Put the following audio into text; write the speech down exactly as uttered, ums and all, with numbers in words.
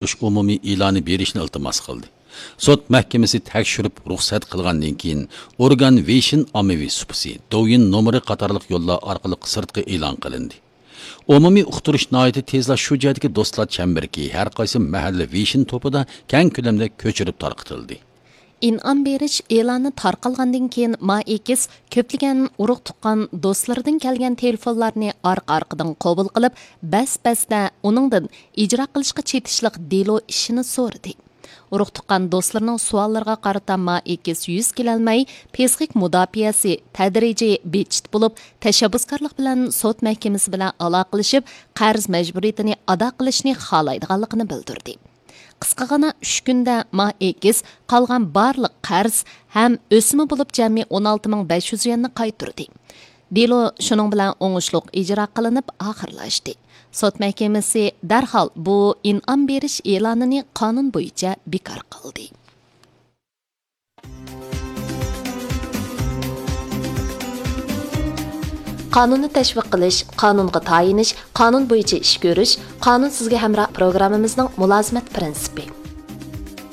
ئۇقتۇرۇش ئومۇمىي ئېلانى بېرىشنى ئىلتىماس قىلدى. سوت مەھكىمىسى تەكشۈرۈپ رۇخسەت قىلغاندىن كېيىن، ئورگان ۋېيشىن ئاممىۋى سۇپىسى، دوۋيىن نومۇرى قاتارلىق يوللار ئارقىلىق سىرتقا ئېلان قىلىندى. ئومۇمىي ئۇقتۇرۇش ناھايىتى تېزلا شۇ جايدىكى دوستلار چەمبىرىكى، ھەر قايسى مەھەللە ۋېيشىن توپىدا كەڭ كۆلەمدە كۆچۈرۈپ تارقىتىلدى. ئىنئام بېرىش ئېلانى تارقالغاندىن كېيىن، ما ئېكس كۆپلىگەن ئۇرۇق-تۇغقان دوستلىرىدىن كەلگەن تېلېفونلارنى ئارقا-ئارقىدىن قوبۇل قىلىپ، بەس-بەستە ئۇنىڭدىن ئىجرا قىلىشقا چېتىشلىق دېلو ئىشىنى سورىدى. ئۇرۇق-تۇغقان دوستلىرىنىڭ سوئاللىرىغا قارىتا ما ئېكس يۈز كېلەلمەي، پسىخىك مۇداپىئەسى تەدرىجىي بىتچىت بولۇپ، تەشەببۇسكارلىق بىلەن سوت مەھكىمىسى بىلەن ئالاقىلىشىپ، قەرز مەجبۇرىيىتىنى ئادا قىلىشنى خالايدىغانلىقىنى بىلدۈردى. قىسقىغىنا ئۈچ كۈندە ما ئېكس قالغان بارلىق قەرز ھەم ئۆسۈمى بولۇپ جەمئىي ئون ئالتە مىڭ بەش يۈز يۈەننى قايتۇردى. دېلو شۇنىڭ بىلەن ئوڭۇشلۇق ئىجرا قىلىنىپ ئاخىرلاشتى. سوت مەھكىمىسى دەرھال بۇ ئىنئام بېرىش ئېلانىنى قانۇن بويىچە بىكار قىلدى. قانۇننى تەشۋىق قىلىش، قانۇنغا تايىنىش، قانۇن بويىچە ئىش كۆرۈش، قانۇن سىزگە ھەمراھ پروگراممىمىزنىڭ مۇلازىمەت پىرىنسىپى.